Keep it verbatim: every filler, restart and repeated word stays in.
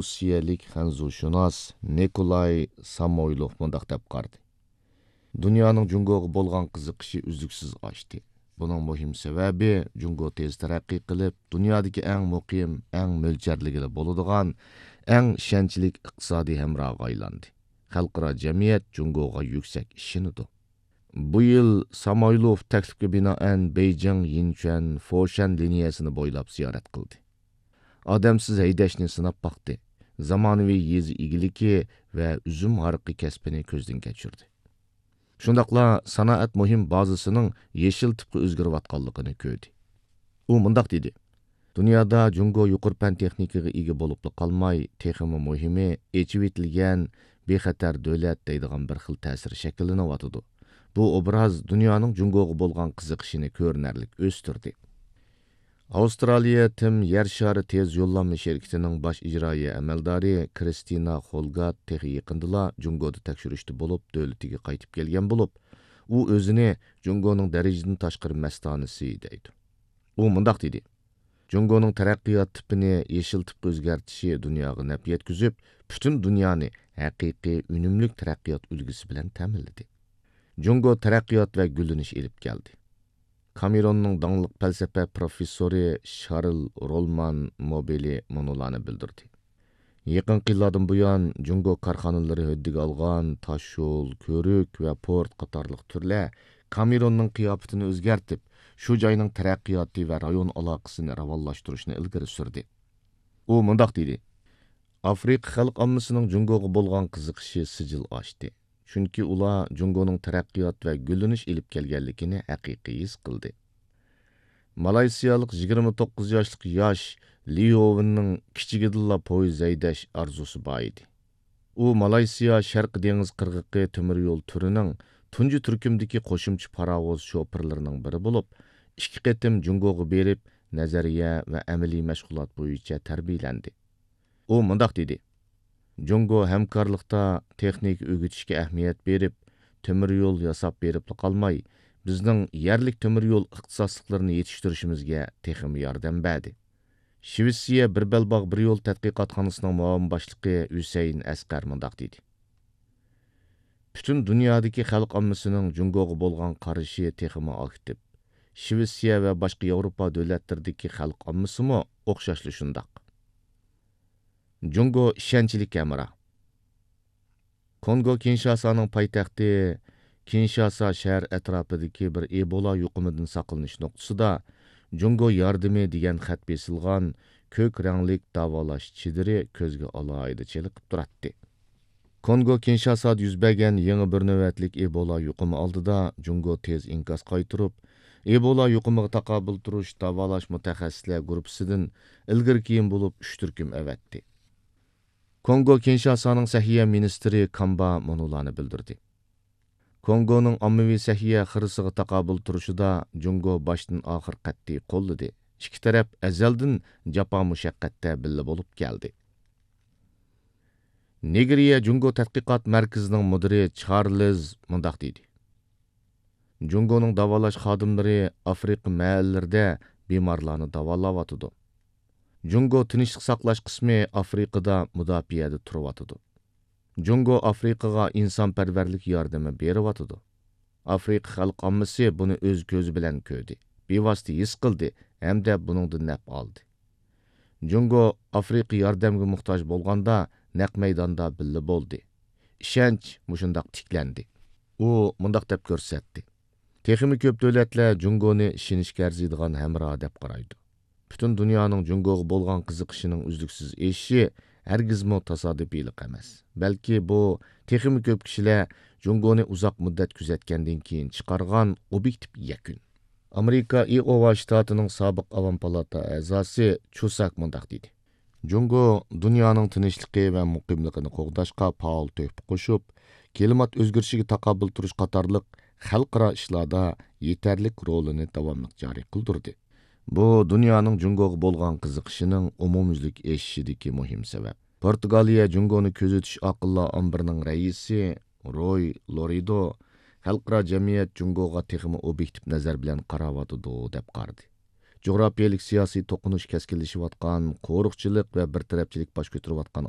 ئۇسسىيەلىك خەنزۇشۇناس نىكولاي سامويلوف مۇنداق دەپ قارىدى: دۇنيانىڭ جۇڭگوغا بولغان قىزىقىشى ئۈزلۈكسىز ئاشتى. بۇنىڭ مۇھىم سەۋەبى، جۇڭگو تېز تەرەققىي قىلىپ، دۇنيادىكى ئەڭ مۇقىم، ئەڭ مۆلچەرلىگىلى بولىدىغان، ئەڭ ئىشەنچلىك ئىقتىسادىي ھەمراھقا ئايلاندى. خەلقئارا جەمئىيەت جۇڭگوغا يۈكسەك ئىشىنىدۇ. بۇ يىل سامويلوف تەكلىپكە بىنائەن بېيجىڭ، يىنچۈەن، فوشەن لىنىيەسىنى بويلاپ زىيارەت قىلدى. ئادەمسىز ھەيدەشنى سىناپ باقتى. زامانىۋى يېزا ئىگىلىكى ۋە ئۈزۈم ھارىقى كەسپىنى كۆزدىن كەچۈردى. شۇنداقلا سانائەت مۇھىم بازىسىنىڭ يېشىل تىپقا ئۆزگىرىۋاتقانلىقىنى كۆردى. ئۇ مۇنداق دېدى: دۇنيادا جۇڭگو يۇقىرى پەن تېخنىكىغا ئىگە بولۇپلا قالماي، تېخىمۇ مۇھىمى، ئېچىۋېتىلگەن، بىخەتەر دۆلەت دەيدىغان بىر خىل تەسىر شەكىللىنىۋاتىدۇ. بۇ ئوبراز دۇنيانىڭ جۇڭگوغا بولغان قىزىقىشىنى كۆرۈنەرلىك ئۆستۈردى. ئاۋسترالىيە تىم يەر شارى تېز يوللانما شىركىتىنىڭ باش ئىجرائىيە ئەمەلدارى كرىستىنا خولگات تېخى يېقىندىلا جۇڭگودا تەكشۈرۈشتە بولۇپ، دۆلىتىگە قايتىپ كەلگەن بولۇپ، ئۇ ئۆزىنى جۇڭگونىڭ دەرىجىدىن تاشقىرى مەستانىسى دەيدۇ. ئۇ مۇنداق دېدى: جۇڭگونىڭ تەرەققىيات تىپىنى يېشىل تىپقا ئۆزگەرتىشى دۇنياغا نەپ يەتكۈزۈپ، پۈتۈن دۇنيانى ھەقىقىي ئۈنۈملۈك تەرەققىيات ئۈلگىسى بىلەن تەمىنلىدى. جۇڭگو تەرەققىيات ۋە گۈللىنىش ئېلىپ كەلدى. كامېروننىڭ داڭلىق پەلسەپە پروفېسسورى شارل رولمان موبېلى مۇنۇلارنى بىلدۈردى: يېقىنقى يىللاردىن بۇيان، جۇڭگو كارخانىلىرى ھۆددىگە ئالغان تاشيول، كۆۋرۈك ۋە پورت قاتارلىق تۈرلەر كامېروننىڭ قىياپىتىنى ئۆزگەرتىپ، شۇ جاينىڭ تەرەققىياتى ۋە رايون ئالاقىسىنى راۋانلاشتۇرۇشنى ئىلگىرى سۈردى. ئۇ مۇنداق دېدى: ئافرىقا خەلق ئاممىسىنىڭ جۇڭگوغا بولغان قىزىقىشى سىجىل ئاشتى، چۈنكى ئۇلار جۇڭگونىڭ تەرەققىيات ۋە گۈللىنىش ئېلىپ كەلگەنلىكىنى ھەقىقىي ھېس قىلدى. مالايسىيالىق يىگىرمە توققۇز ياشلىق ياش لى يوۋېننىڭ كىچىكىدىنلا پويىز ھەيدەش ئارزۇسى بار ئىدى. ئۇ مالايسىيا شەرقىي دېڭىز قىرغىقى تۆمۈر يول تۈرىنىڭ تۇنجى تۈركۈمدىكى قوشۇمچە پاراۋۇز شوپۇرلىرىنىڭ بىرى بولۇپ، ئىككى قېتىم جۇڭگوغا بېرىپ، نەزەرىيە ۋە ئەمەلىي مەشغۇلات بويىچە تەربىيەلەندى. ئۇ مۇنداق دېدى: جۇڭگو ھەمكارلىقتا تېخنىكا ئۆگىتىشكە ئەھمىيەت بېرىپ، تۆمۈر يول ياساپ بېرىپلا قالماي، بىزنىڭ يەرلىك تۆمۈر يول ئىختىساسلىقلىرىنى يېتىشتۈرۈشىمىزگە تېخىمۇ ياردەم بەردى. شىۋېتسىيە بىر بەلباغ بىر يول تەتقىقاتخانىسىنىڭ مۇئاۋىن باشلىقى ھۈسەيىن ئەسقەر مۇنداق دېدى: پۈتۈن دۇنيادىكى خەلق ئاممىسىنىڭ جۇڭگوغا بولغان قارىشى تېخىمۇ ئاكتىپ. شىۋېتسىيە ۋە باشقا ياۋروپا دۆلەتلىرىدىكى خەلق ئاممىسىمۇ ئوخشاشلا شۇنداق. جۇڭگو ئىشەنچلىك ھەمراھ. كونگو كىنشاسانىڭ پايتەختى كىنشاسا شەھەر ئەتراپىدىكى بىر ئېبولا يۇقۇمىدىن ساقلىنىش نۇقتىسىدا جۇڭگو ياردىمى دېگەن خەت بېسىلغان كۆك رەڭلىك داۋالاش چېدىرى كۆزگە ئالاھىدە چېلىقىپ تۇراتتى. كونگو كىنشاسادا يۈز بەرگەن يېڭى بىر نۆۋەتلىك ئېبولا يۇقۇمى ئالدىدا جۇڭگو تېز ئىنكاس قايتۇرۇپ، ئېبولا يۇقۇمىغا تاقابىل تۇرۇش داۋالاش مۇتەخەسسىسلەر گۇرۇپپىسىدىن ئىلگىرى كېيىن بولۇپ ئۈچ تۈركۈم ئەۋەتتى. كونگو كىنشاسانىڭ سەھىيە مىنىستىرى كامبا مۇنۇلارنى بىلدۈردى: كونگونىڭ ئاممىۋى سەھىيە خىرىسىغا تاقابىل تۇرۇشىدا جۇڭگو باشتىن ئاخىر قەتئىي قوللىدى. ئىككى تەرەپ ئەزەلدىن جاپا مۇشەققەتتە بىللە بولۇپ كەلدى. نېگرىيە جۇڭگو تەتقىقات مەركىزىنىڭ مۇدىرى چارلىز مۇنداق دېدى: جۇڭگونىڭ داۋالاش خادىملىرى ئافرىقا مەھەللىلىرىدە بىمارلارنى داۋالاۋاتىدۇ. جۇڭگو تىنچلىق ساقلاش قىسمى ئافرىقىدا مۇداپىئەدە تۇرۇۋاتىدۇ. جۇڭگو ئافرىقىغا ئىنسانپەرۋەرلىك ياردىمى بېرىۋاتىدۇ. ئافرىقا خەلق ئاممىسى بۇنى ئۆز كۆزى بىلەن كۆردى، بىۋاسىتە ھېس قىلدى ھەمدە بۇنىڭدىن نەپ ئالدى. جۇڭگو ئافرىقا ياردەمگە موھتاج بولغاندا نەق مەيداندا بىللە بولدى. ئىشەنچ مۇشۇنداق تىكلەندى. ئۇ مۇنداق دەپ كۆرسەتتى: تېخىمۇ كۆپ دۆلەتلەر جۇڭگونى ئىشىنىشكە ئەرزىيدىغان ھەمراھ دەپ قارايدۇ. پۈتۈن دۇنيانىڭ جۇڭگوغا بولغان قىزىقىشىنىڭ ئۈزلۈكسىز ئېشىشى ھەرگىزمۇ تاسادىپىيلىق ئەمەس، بەلكى بۇ تېخىمۇ كۆپ كىشىلەر جۇڭگونى ئۇزاق مۇددەت كۆزەتكەندىن كېيىن چىقارغان ئوبيېكتىپ يەكۈن. ئامېرىكا ئىئوۋا شتاتىنىڭ سابىق ئاۋام پالاتا ئەزاسى چۇساك مۇنداق دېدى: جۇڭگو دۇنيانىڭ تىنچلىقى ۋە مۇقىملىقىنى قوغداشقا پائال تۆھپە قوشۇپ، كىلىمات ئۆزگىرىشىگە تاقابىل تۇرۇش قاتارلىق خەلقئارا ئىشلاردا يېتەرلىك رولىنى داۋاملىق جارى قىلدۇردى. بۇ دۇنيانىڭ جۇڭگوغا بولغان قىزىقىشىنىڭ ئومۇميۈزلۈك ئېشىشىدىكى مۇھىم سەۋەب. پورتۇگالىيە جۇڭگونى كۆزىتىش ئاقىللار ئامبىرىنىڭ رەئىسى روي لورىدو خەلقئارا جەمئىيەت جۇڭگوغا تېخىمۇ ئوبيېكتىپ نەزەر بىلەن قاراۋاتىدۇ، دەپ قارىدى. جۇغراپىيەلىك سىياسىي توقۇنۇش كەسكىنلىشىۋاتقان، قورۇقچىلىق ۋە بىر تەرەپچىلىك باش كۆتۈرۈۋاتقان